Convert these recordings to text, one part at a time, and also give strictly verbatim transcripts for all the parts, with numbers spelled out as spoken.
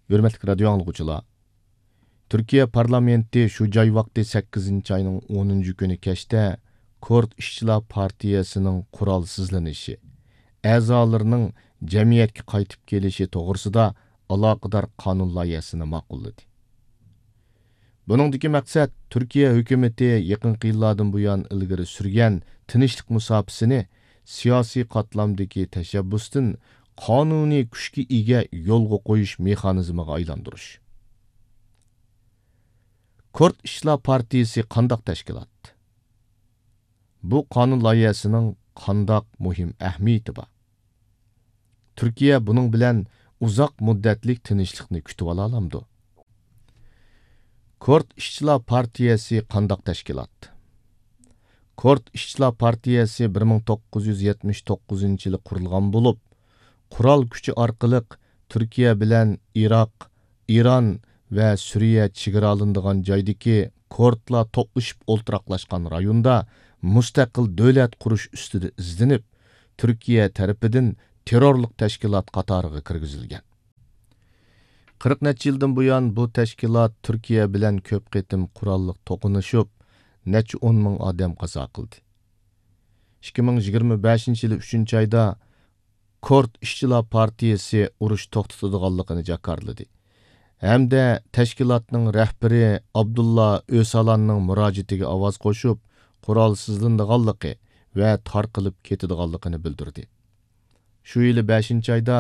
ھۆرمەتلىك رادىيو ئاڭلىغۇچىلار، تۈركىيە پارلامېنتى شۇ جاي ۋاقتى سەككىزىنچى ئاينىڭ ئونىنچى كۈنى كەچتە كۇرد ئىشچىلار پارتىيەسىنىڭ قورالسىزلىنىشى، ئەزالىرىنىڭ جەمئىيەتكە قايتىپ كېلىشى توغرىسىدا ئالاقىدار قانۇن لايىھەسىنى ماقۇللىدى. بۇنىڭدىكى مەقسەت تۈركىيە ھۆكۈمىتى يېقىنقى يىللاردىن بۇيان ئىلگىرى سۈرگەن تىنچلىق مۇساپىسىنى سىياسىي قاتلامدىكى تەشەببۇستىن قانۇنىي كۈچكە ئىگە يولغا قويۇش مېخانىزمىغا ئايلاندۇرۇش. كۇرد ئىشچىلار پارتىيىسى قانداق تەشكىلات؟ بۇ قانۇن لايىھەسىنىڭ قانداق مۇھىم ئەھمىيىتى بار؟ تۈركىيە بۇنىڭ بىلەن ئۇزاق مۇددەتلىك تىنچلىقنى كۈتۈۋالالامدۇ؟ كۇرد ئىشچىلار پارتىيەسى قانداق تەشكىلات؟ كۇرد ئىشچىلار پارتىيەسى بىر مىڭ توققۇز يۈز يەتمىش توققۇزىنچى يىلى قۇرۇلغان بولۇپ، قورال كۈچى ئارقىلىق تۈركىيە بىلەن ئىراق، ئىران ۋە سۈرىيە چېگرالىنىدىغان جايدىكى كۇردلار توپلىشىپ ئولتۇراقلاشقان رايوندا مۇستەقىل دۆلەت قۇرۇش ئۈستىدە ئىزدىنىپ، تۈركىيە تەرىپىدىن تېررورلۇق تەشكىلات قاتارىغا كىرگۈزۈلگەن. قىرىق نەچچە يىلدىن بۇيان بۇ تەشكىلات تۈركىيە بىلەن كۆپ قېتىم قوراللىق توقۇنۇشۇپ، نەچچە ئون مىڭ ئادەم قازا قىلدى. ئىككى مىڭ يىگىرمە بەشىنچى يىلى ئۈچىنچى ئايدا كۇرد ئىشچىلار پارتىيىسى ئۇرۇش توختىتىدىغانلىقىنى جاكارلىدى ھەمدە تەشكىلاتنىڭ رەھبىرى ئابدۇللا ئۆسالاننىڭ مۇراجىئىتىگە ئاۋاز قوشۇپ، قورالسىزلىنىدىغانلىقى ۋە تارقىلىپ كېتىدىغانلىقىنى بىلدۈردى. شۇ يىلى بەشىنچى ئايدا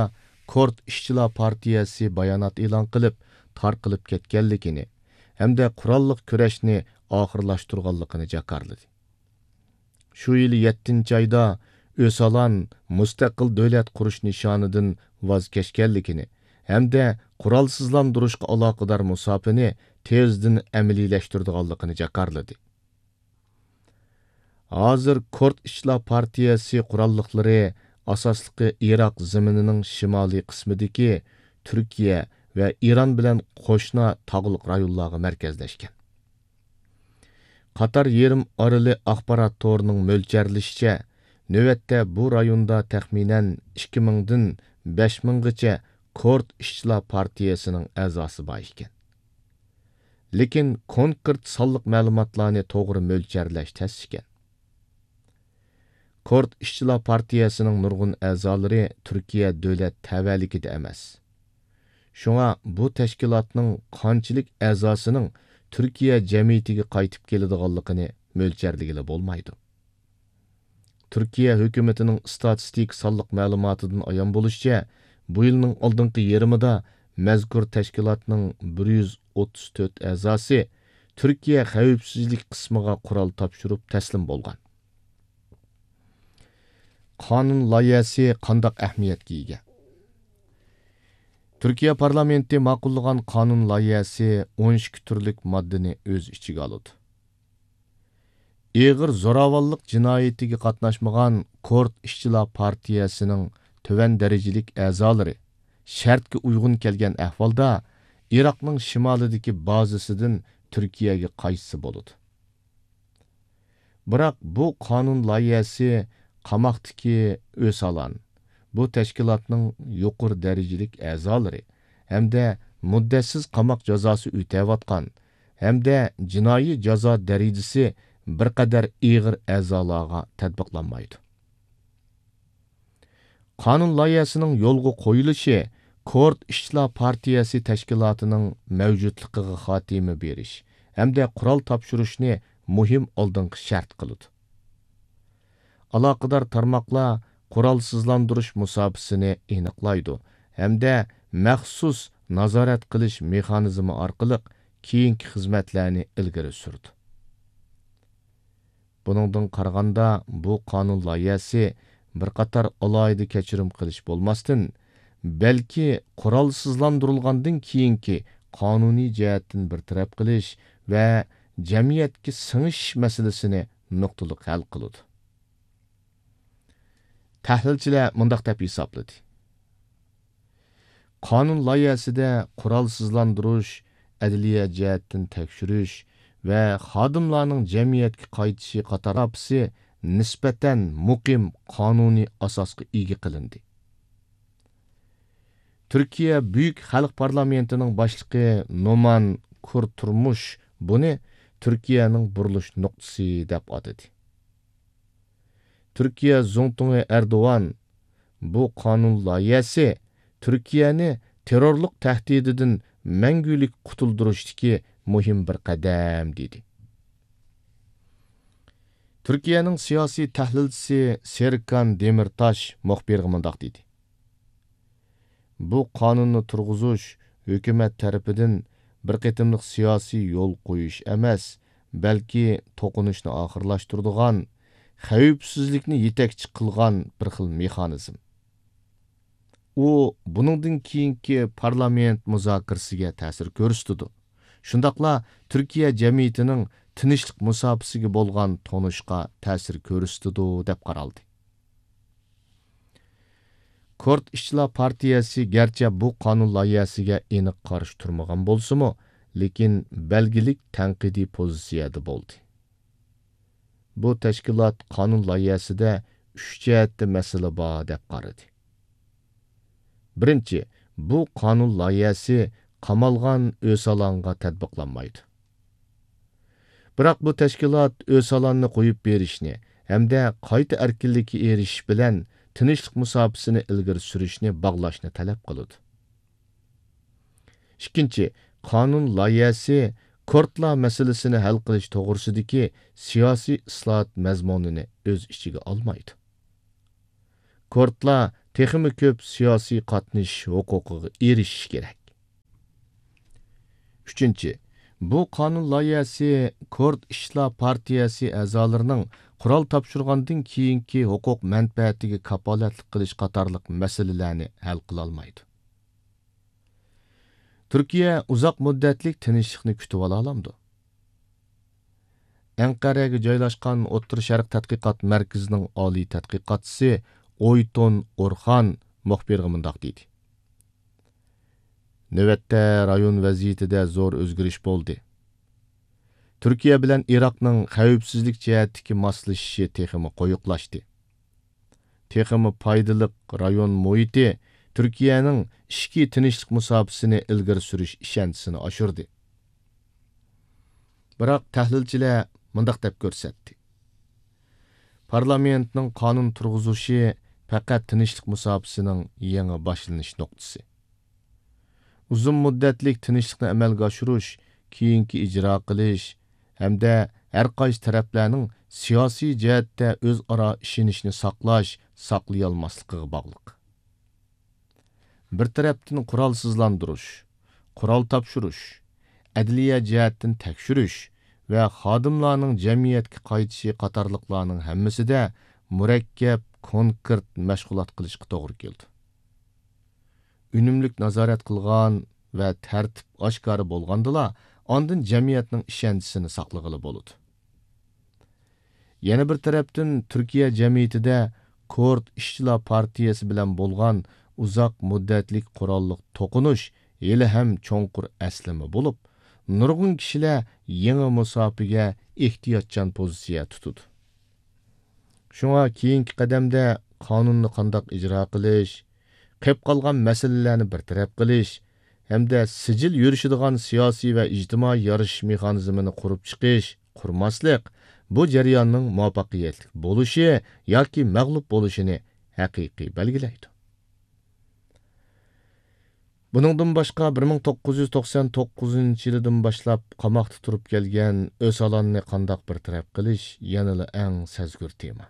كۇرد ئىشچىلار پارتىيەسى بايانات ئېلان قىلىپ، تارقىلىپ كەتكەنلىكىنى ھەمدە قوراللىق كۈرەشنى ئاخىرلاشتۇرغانلىقىنى جاكارلىدى. شۇ يىلى يەتتىنچى ئايدا ئۆسالان مۇستەقىل دۆلەت قۇرۇش نىشانىدىن ۋاز كەچكەنلىكىنى ھەمدە قورالسىزلاندۇرۇشقا ئالاقىدار مۇساپىنى تېزدىن ئەمەلىيلەشتۈرىدىغانلىقىنى جاكارلىدى. ھازىر كۇرد ئىشچىلار پارتىيەسى قوراللىقلىرى ئاساسلىقى ئىراق زېمىنىنىڭ شىمالىي قىسمىدىكى تۈركىيە ۋە ئىران بىلەن قوشنا تاغلىق رايونلارغا مەركەزلەشكەن. قاتار يېرىم ئارىلى ئاخبارات تورىنىڭ مۆلچەرلىشىچە، نۆۋەتتە بۇ رايوندا تەخمىنەن ئىككى مىڭدىن بەش مىڭغىچە كۇرد ئىشچىلار پارتىيەسىنىڭ ئەزاسى بار ئىكەن. لېكىن كونكرېت سانلىق مەلۇماتلارنى توغرا مۆلچەرلەش تەس ئىكەن. كۇرد ئىشچىلار پارتىيەسىنىڭ نۇرغۇن ئەزالىرى تۈركىيە دۆلەت تەۋەلىكىدە ئەمەس. شۇڭا بۇ تەشكىلاتنىڭ قانچىلىك ئەزاسىنىڭ تۈركىيە جەمئىيىتىگە قايتىپ كېلىدىغانلىقىنى مۆلچەرلىگىلى بولمايدۇ. تۈركىيە ھۆكۈمىتىنىڭ ئىستاتىستىكا سانلىق مەلۇماتىدىن ئايان بولۇشىچە، بۇ يىلنىڭ ئالدىنقى يېرىمىدا مەزكۇر تەشكىلاتنىڭ بىر يۈز ئوتتۇز تۆت ئەزاسى تۈركىيە خەۋپسىزلىك قىسمىغا قورال تاپشۇرۇپ تەسلىم بولغان. قانۇن لايىھەسى قانداق ئەھمىيەتكە ئىگە؟ تۈركىيە پارلامېنتى ماقۇللىغان قانۇن لايىھەسى ئون ئىككى تۈرلۈك ماددىنى ئۆز ئىچىگە ئالىدۇ. ئېغىر زوراۋانلىق جىنايىتىگە قاتناشمىغان كۇرد ئىشچىلار پارتىيەسىنىڭ تۆۋەن دەرىجىلىك ئەزالىرى شەرتكە ئۇيغۇن كەلگەن ئەھۋالدا ئىراقنىڭ شىمالىدىكى بازىسىدىن تۈركىيەگە قايتسا بولىدۇ. بىراق بۇ قانۇن لايىھەسى قاماقتىكى ئۆسالان، بۇ تەشكىلاتنىڭ يۇقىرى دەرىجىلىك ئەزالىرى ھەمدە مۇددەتسىز قاماق جازاسى ئۆتەۋاتقان ھەمدە جىنايى جازا دەرىجىسى بىر قەدەر ئېغىر ئەزالارغا تەتبىقلانمايدۇ. قانۇن لايىھەسىنىڭ يولغا قويۇلۇشى كۇرد ئىشچىلار پارتىيەسى تەشكىلاتىنىڭ مەۋجۇتلۇقىغا خاتىمە بېرىش ھەمدە قورال تاپشۇرۇشنى مۇھىم ئالدىنقى شەرت قىلىدۇ. ئالاقىدار تارماقلار قورالسىزلاندۇرۇش مۇساپىسىنى ئېنىقلايدۇ ھەمدە مەخسۇس نازارەت قىلىش مېخانىزمى ئارقىلىق كېيىنكى خىزمەتلەرنى ئىلگىرى سۈرىدۇ. بۇنىڭدىن قارىغاندا، بۇ قانۇن لايىھەسى بىر قاتار ئالاھىدە كەچۈرۈم قىلىش بولماستىن، بەلكى قورالسىزلاندۇرۇلغاندىن كېيىنكى قانۇنىي جەھەتتىن بىر تەرەپ قىلىش ۋە جەمئىيەتكە سىڭىشىش مەسىلىسىنى نۇقتىلىق ھەل قىلىدۇ. تەھلىلچىلەر مۇنداق دەپ ھېسابلىدى. قانۇن لايىھەسىدە قورالسىزلاندۇرۇش، ئەدلىيە جەھەتتىن تەكشۈرۈش ۋە خادىملارنىڭ جەمئىيەتكە قايتىشى قاتارلىق نىسبەتەن مۇقىم قانۇنىي ئاساسقا ئىگە قىلىندى. تۈركىيە بۈيۈك خەلق پارلامېنتىنىڭ باشلىقى نومان كۇرتۇرمۇش بۇنى تۈركىيەنىڭ بۇرۇلۇش نۇقتىسى دەپ ئاتىدى. تۈركىيە زۇڭتۇڭى ئەردوغان، بۇ قانۇن لايىھەسى تۈركىيەنى تېررورلۇق تەھدىتىدىن مەڭگۈلۈك قۇتۇلدۇرۇشتىكى مۇھىم بىر قەدەم، دېدى. تۈركىيەنىڭ سىياسىي تەھلىلچىسى سېركان دېمىرتاش مۇخبىرغا مۇنداق دېدى: بۇ قانۇننى تۇرغۇزۇش ھۆكۈمەت تەرىپىدىن بىر قېتىملىق سىياسىي يول قويۇش ئەمەس، بەلكى توقۇنۇشنى ئاخىرلاشتۇرىدىغان، خەۋپسىزلىكنى يېتەكچى قىلغان بىر خىل مېخانىزم. ئۇ بۇنىڭدىن كېيىنكى پارلامېنت مۇزاكىرىسىگە تەسىر كۆرسىتىدۇ. شۇنداقلا تۈركىيە جەمئىيىتىنىڭ تىنچلىق مۇساپىسىگە بولغان تونۇشقا تەسىر كۆرسىتىدۇ، دەپ قارالدى. كۇرد ئىشچىلار پارتىيەسى گەرچە بۇ قانۇن لايىھەسىگە ئېنىق قارشى تۇرمىغان بولسىمۇ، لېكىن بەلگىلىك تەنقىدىي پوزىتسىيەدە بولدى. بۇ تەشكىلات قانۇن لايىھەسىدە ئۈچ جەھەتتە مەسىلە بار دەپ قارىدى. بىرىنچى، بۇ قانۇن لايىھەسى قامالغان ئۆسالانغا تەتبىقلانمايدۇ. بىراق بۇ تەشكىلات ئۆسالاننى قويۇپ بېرىشنى ھەمدە قايتا ئەركىنلىككە ئېرىشىش بىلەن تىنچلىق مۇساپىسىنى ئىلگىرى سۈرۈشنى باغلاشنى تەلەپ قىلىدۇ. ئىككىنچى، قانۇن لايىھەسى كۇردلار مەسىلىسىنى ھەل قىلىش توغرىسىدىكى سىياسىي ئىسلاھات مەزمۇنىنى ئۆز ئىچىگە ئالمايدۇ. كۇردلار تېخىمۇ كۆپ سىياسىي قاتنىشىش ھوقۇقىغا ئېرىشىشى كېرەك. ئۈچىنچى، بۇ قانۇن لايىھەسى كۇرد ئىشچىلار پارتىيەسى ئەزالىرىنىڭ قورال تاپشۇرغاندىن كېيىنكى ھوقۇق مەنپەئەتىگە كاپالەتلىك قىلىش قاتارلىق مەسىلىلەرنى ھەل قىلالمايدۇ. تۈركىيە ئۇزاق مۇددەتلىك تىنچلىقنى كۈتۈۋالالامدۇ؟ ئەنقەرەگە جايلاشقان ئوتتۇرا شەرق تەتقىقات مەركىزىنىڭ ئالىي تەتقىقاتچىسى ئويتون ئورخان مۇخبىرغا مۇنداق دېدى: نۆۋەتتە رايون ۋەزىيىتىدە زور ئۆزگىرىش بولدى. تۈركىيە بىلەن ئىراقنىڭ خەۋپسىزلىك جەھەتتىكى ماسلىشىشى تېخىمۇ قويۇقلاشتى. تېخىمۇ پايدىلىق رايون مۇھىتى تۈركىيەنىڭ ئىچكى تىنچلىق مۇساپىسىنى ئىلگىرى سۈرۈش ئىشەنچىسىنى ئاشۇردى. بىراق تەھلىلچىلەر مۇنداق دەپ كۆرسەتتى: پارلامېنتنىڭ قانۇن تۇرغۇزۇشى پەقەت تىنچلىق مۇساپىسىنىڭ يېڭى باشلىنىش نۇقتىسى. ئۇزۇن مۇددەتلىك تىنچلىقنى ئەمەلگە ئاشۇرۇش، كېيىنكى ئىجرا قىلىش ھەمدە ھەر قايسى تەرەپلەرنىڭ سىياسىي جەھەتتە ئۆزئارا ئىشىنىشىنى ساقلاش، ساقلىيالماسلىقىغا باغلىق. بىر تەرەپتىن قورالسىزلاندۇرۇش، قورال تاپشۇرۇش، ئەدلىيە جەھەتتىن تەكشۈرۈش ۋە خادىملارنىڭ جەمئىيەتكە قايتىشى قاتارلىقلارنىڭ ھەممىسىدە مۇرەككەپ، كونكرېت مەشغۇلات قىلىشقا توغرا كېلىدۇ. ئۈنۈملۈك نازارەت قىلغان ۋە تەرتىپ ئاشكارا بولغاندىلا، ئاندىن جەمئىيەتنىڭ ئىشەنچىسىنى ساقلىغىلى بولىدۇ. يەنە بىر تەرەپتىن، تۈركىيە جەمئىيىتىدە كۇرد ئىشچىلار پارتىيەسى بىلەن بولغان ئۇزاق مۇددەتلىك قوراللىق توقۇنۇش ھېلىھەم چوڭقۇر ئەسلىمە بولۇپ، نۇرغۇن كىشىلەر يېڭى مۇساپىگە ئېھتىياتچان پوزىتسىيە تۇتىدۇ. شۇڭا كېيىنكى قەدەمدە قانۇننى قانداق ئىجرا قىلىش، قېلىپ قالغان مەسىلىلەرنى بىر تەرەپ قىلىش ھەمدە سىجىل يۈرۈشىدىغان سىياسىي ۋە ئىجتىمائىي يارىشىش مېخانىزمىنى قۇرۇپ چىقىش، قۇرماسلىق بۇ جەرياننىڭ مۇۋەپپەقىيەتلىك بولۇشى ياكى مەغلۇپ بولۇشىنى ھەقىقىي بەلگىلەيدۇ. بۇنىڭدىن باشقا، بىر مىڭ توققۇز يۈز توقسان توققۇزىنچى يىلىدىن باشلاپ قاماقتا تۇرۇپ كەلگەن ئۆسالاننى قانداق بىر تەرەپ قىلىش يەنىلا ئەڭ سەزگۈر تېما.